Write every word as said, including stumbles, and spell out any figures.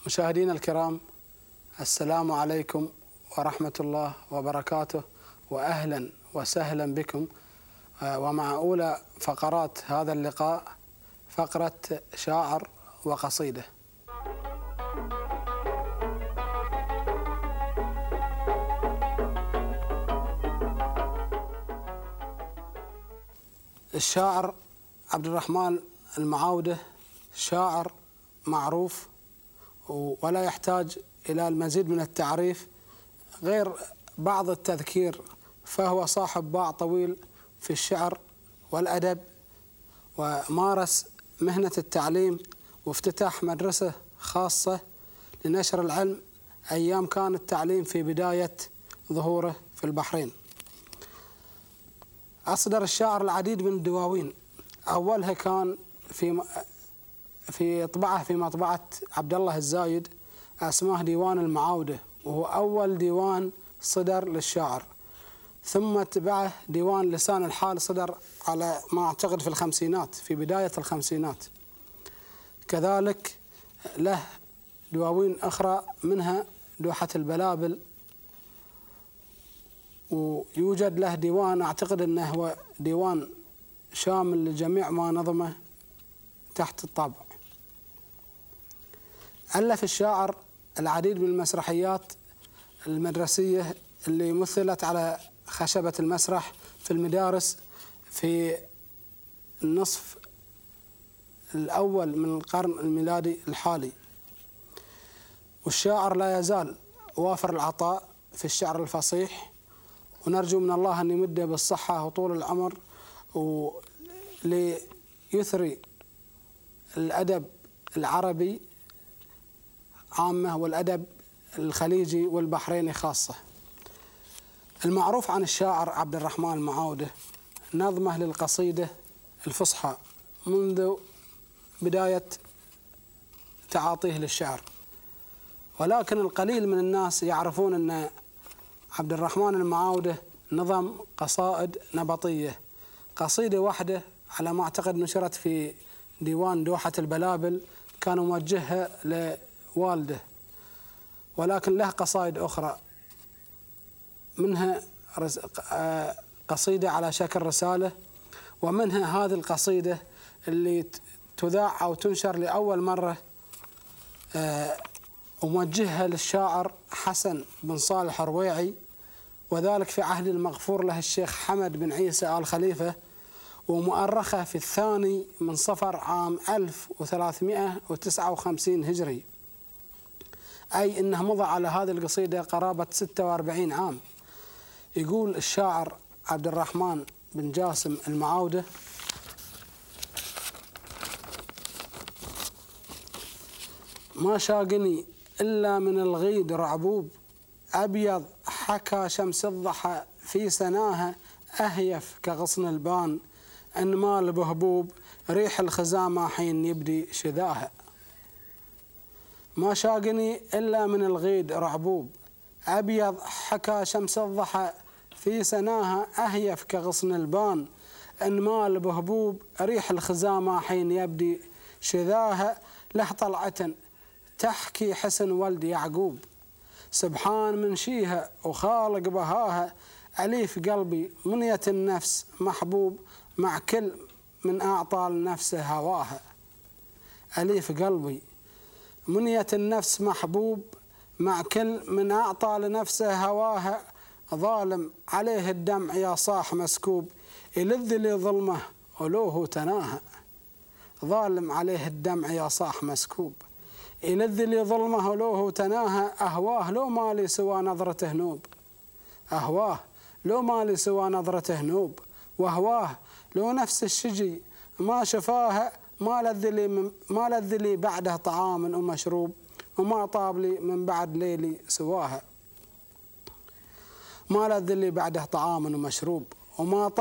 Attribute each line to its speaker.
Speaker 1: مشاهدينا الكرام، السلام عليكم ورحمة الله وبركاته، وأهلا وسهلا بكم. ومع أولى فقرات هذا اللقاء فقرة شاعر وقصيدة. الشاعر عبد الرحمن المعاودة شاعر معروف ولا يحتاج إلى المزيد من التعريف غير بعض التذكير، فهو صاحب باع طويل في الشعر والأدب، ومارس مهنة التعليم وافتتاح مدرسة خاصة لنشر العلم أيام كان التعليم في بداية ظهوره في البحرين. أصدر الشاعر العديد من الدواوين، أولها كان في في طبعه في مطبعة عبد الله الزايد اسمه ديوان المعاودة، وهو أول ديوان صدر للشاعر. ثم تبعه ديوان لسان الحال صدر على ما أعتقد في الخمسينات، في بداية الخمسينات. كذلك له دواوين أخرى منها دوحة البلابل، ويوجد له ديوان أعتقد أنه هو ديوان شامل لجميع ما نظمه تحت الطابع. ألف الشاعر العديد من المسرحيات المدرسية اللي مثلت على خشبة المسرح في المدارس في النصف الأول من القرن الميلادي الحالي. والشاعر لا يزال وافر العطاء في الشعر الفصيح، ونرجو من الله أن يمده بالصحة وطول العمر وليثري الأدب العربي عامة والأدب الخليجي والبحريني خاصة. المعروف عن الشاعر عبد الرحمن المعاودة نظمه للقصيدة الفصحى منذ بداية تعاطيه للشعر، ولكن القليل من الناس يعرفون أن عبد الرحمن المعاودة نظم قصائد نبطية. قصيدة واحدة على ما أعتقد نشرت في ديوان دوحة البلابل كان موجهها لوالده، ولكن له قصائد أخرى منها قصيدة على شكل رسالة، ومنها هذه القصيدة اللي تذاع أو تنشر لأول مرة وموجهها للشاعر حسن بن صالح الرويعي، وذلك في عهد المغفور له الشيخ حمد بن عيسى آل خليفة، ومؤرخة في الثاني من صفر عام ألف وثلاثمائة وتسعة وخمسين هجري، أي أنه مضى على هذه القصيدة قرابة ستة وأربعين عام. يقول الشاعر عبد الرحمن بن جاسم المعاودة: ما شاقني إلا من الغيد رعبوب، أبيض حكى شمس الضحى في سناها، أهيف كغصن البان أنمال بهبوب، ريح الخزامة حين يبدي شذاها. ما شاقني إلا من الغيد رعبوب، أبيض حكى شمس الضحى في سناها، أهيف كغصن البان أنمال بهبوب، ريح الخزامة حين يبدي شذاها. له طلعة تحكي حسن ولد يعقوب، سبحان من شيها وخالق بهاها، أليف قلبي منية النفس محبوب، مع كل من أعطى لنفسه هواها. أليف قلبي منية النفس محبوب، مع كل من أعطى لنفسه هواها، ظالم عليه الدمع يا صاح مسكوب، يلذ لي ظلمه ولوه تناهى. ظالم عليه الدمع يا صاح مسكوب، يلذ لي ظلمه ولوه تناهى، أهواه لو مالي سوى نظرته نوب، أهواه لو مالي سوى نظرته نوب، وهواه لو نفس الشجي ما شفاها، ما لذ لي ما لذ لي بعده طعام ومشروب، وما طاب لي من بعد ليلي سواها. ما لذ لي بعده طعام ومشروب، وما